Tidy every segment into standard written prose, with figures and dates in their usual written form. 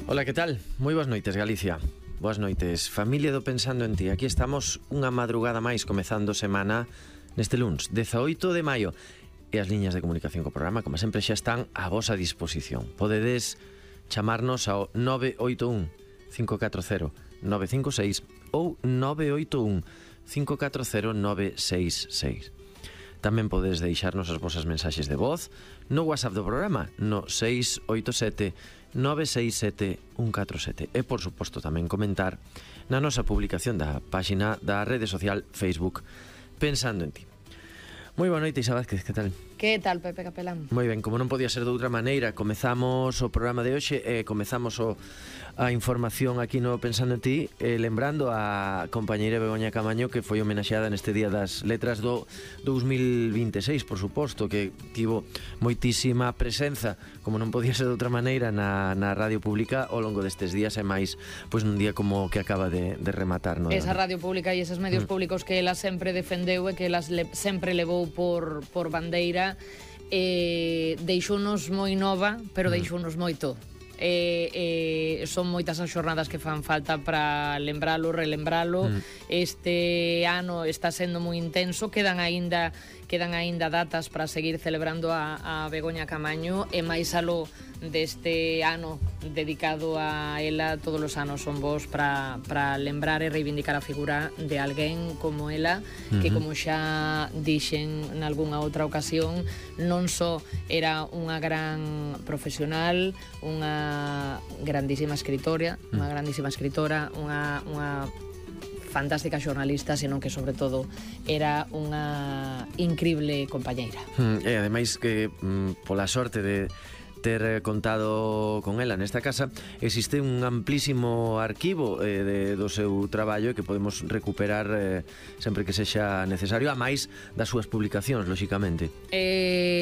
Ola, que tal? Moi boas noites, Galicia. Boas noites, familia do Pensando en Ti. Aquí estamos unha madrugada máis comezando semana neste luns, 18 de maio. E as liñas de comunicación co programa, como sempre, xa están a vosa disposición. Podedes chamarnos ao 981 540 956 ou 981 540 966. Tamén podes deixarnos as vosas mensaxes de voz no WhatsApp do programa no 687 967 147 e, por suposto, tamén comentar na nosa publicación da páxina da rede social Facebook Pensando en Ti. Moi boa noite, Isa Vázquez, que tal? Que tal, Pepe Capelán? Moi ben, como non podía ser de outra maneira, comezamos o programa de hoxe e comezamos a información aquí no Pensando en Ti, lembrando a compañeira Begoña Camaño, que foi homenaxeada neste Día das Letras do 2026, por suposto, que tivo moitísima presenza, como non podía ser de outra maneira, na radio pública ao longo destes días, e máis pois nun día como que acaba de rematar, non? Esa radio pública e eses medios públicos que ela sempre defendeu e que ela sempre levou por bandeira, deixounos moi nova, pero deixounos moito. Son moitas as xornadas que fan falta para lembralo, relembralo. Este ano está sendo moi intenso, quedan aínda datas para seguir celebrando a Begoña Camaño, e máis aló deste ano dedicado a ela. Todos os anos son bons para lembrar e reivindicar a figura de alguén como ela, que, como xa dixen nalgúnha outra ocasión, non só era unha gran profesional, unha grandísima escritora, unha fantástica xornalista, senón que, sobre todo, era unha incrible compañeira. E, ademais, que pola sorte de ter contado con ela nesta casa, existe un amplísimo arquivo do seu traballo que podemos recuperar sempre que sexa necesario, a máis das súas publicacións, lóxicamente.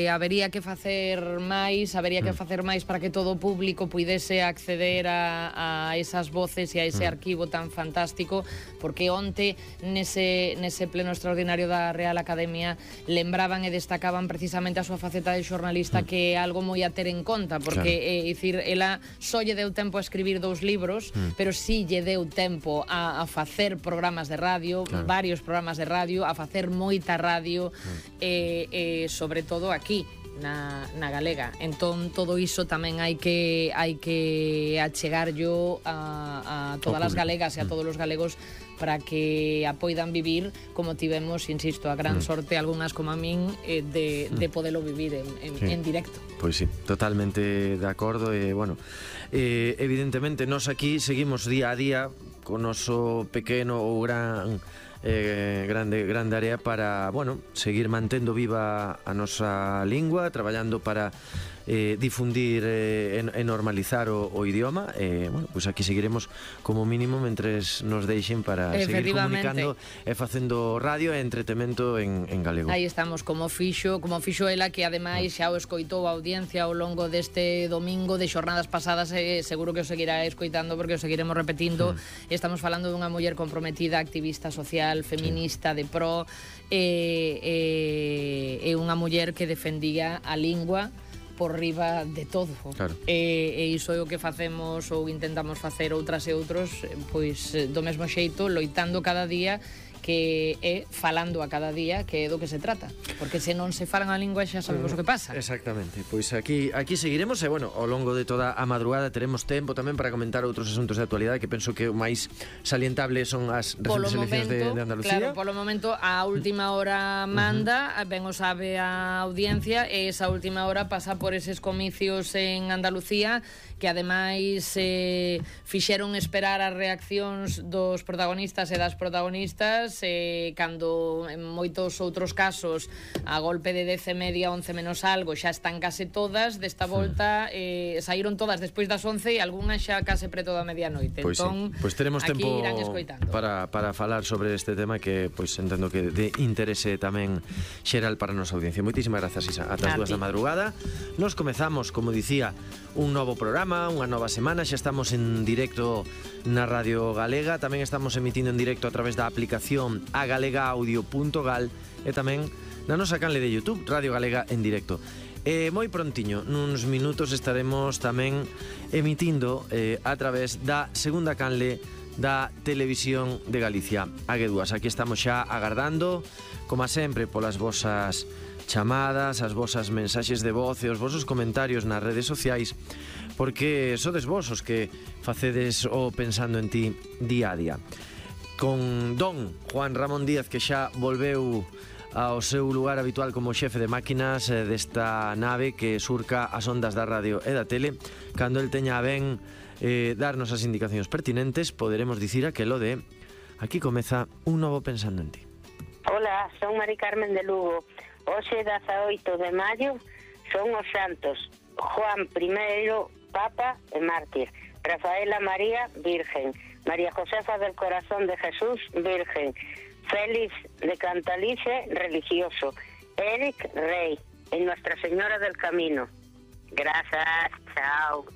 Habería que facer máis para que todo o público puidese acceder a esas voces e a ese arquivo tan fantástico, porque onte nese pleno extraordinario da Real Academia lembraban e destacaban precisamente a súa faceta de xornalista, que é algo moi a ter en conta, porque, dicir, ela só lle deu tempo a escribir 2 libros, pero sí lle deu tempo a facer programas de radio, varios programas de radio, a facer moita radio, sobre todo aquí na galega. Entón, todo iso tamén hai que achegarllo a todas as galegas e a todos os galegos, para que a poidan vivir como tivemos, insisto, a gran sorte, algunhas como a min, de podelo vivir en directo. Pois sí, totalmente de acordo. E, bueno, evidentemente, nós aquí seguimos día a día con noso pequeno ou grande área para, bueno, seguir mantendo viva a nosa lingua, traballando para difundir e normalizar o idioma. Bueno, pues aquí seguiremos como mínimo mentres nos deixen para seguir comunicando e facendo radio e entretemento en galego. Aí estamos, como fixo ela, que ademais xa o escoitou a audiencia ao longo deste domingo de xornadas pasadas, e seguro que o seguirá escoitando, porque o seguiremos repetindo. Estamos falando dunha muller comprometida, activista social, feminista, de pro, e unha muller que defendía a lingua por riba de todo. Claro. E iso é o que facemos ou intentamos facer outras e outros, pois do mesmo xeito, loitando cada día, que é falando a cada día, que é do que se trata, porque se non se falan a lingua xa sabemos o que pasa. Exactamente, pois aquí seguiremos, e, bueno, ao longo de toda a madrugada teremos tempo tamén para comentar outros asuntos de actualidade, que penso que o máis salientable son as recentes eleccións de Andalucía. Claro, polo momento a última hora manda, ben o sabe a audiencia, e esa última hora pasa por eses comicios en Andalucía, que ademais fixeron esperar as reaccións dos protagonistas e das protagonistas, cando en moitos outros casos a golpe de 10:30, 11 menos algo, xa están case todas. Desta volta saíron todas despois das 11 e algunhas xa case preto da medianoite. Pois entón, sí, pois teremos tempo para falar sobre este tema, que pois entendo que de interese tamén xeral para a nosa audiencia. Moitísimas grazas, Isa. Ata as 2 da madrugada. Nos comezamos, como dicía, un novo programa, unha nova semana. Xa estamos en directo na Radio Galega, tamén estamos emitindo en directo a través da aplicación agalegaudio.gal e tamén na nosa canle de YouTube, Radio Galega en directo. moi prontiño, nuns minutos estaremos tamén emitindo a través da segunda canle da Televisión de Galicia. Aguedúas, aquí estamos xa agardando, como sempre, polas vosas chamadas, as vosas mensaxes de voz e os vosos comentarios nas redes sociais, porque sodes vos os que facedes o Pensando en Ti día a día. Con don Juan Ramón Díaz, que xa volveu ao seu lugar habitual como xefe de máquinas desta nave que surca as ondas da radio e da tele, cando el teña a ben darnos as indicacións pertinentes, poderemos dicir aquelo de aquí comeza un novo Pensando en Ti. Hola, son Mari Carmen de Lugo. Hoxe 18 de maio son os santos Juan I, Papa e Mártir, Rafaela María, Virgen, María Josefa del Corazón de Jesús, Virgen, Félix de Cantalice, religioso, Eric, rey, y Nuestra Señora del Camino. Gracias, chao.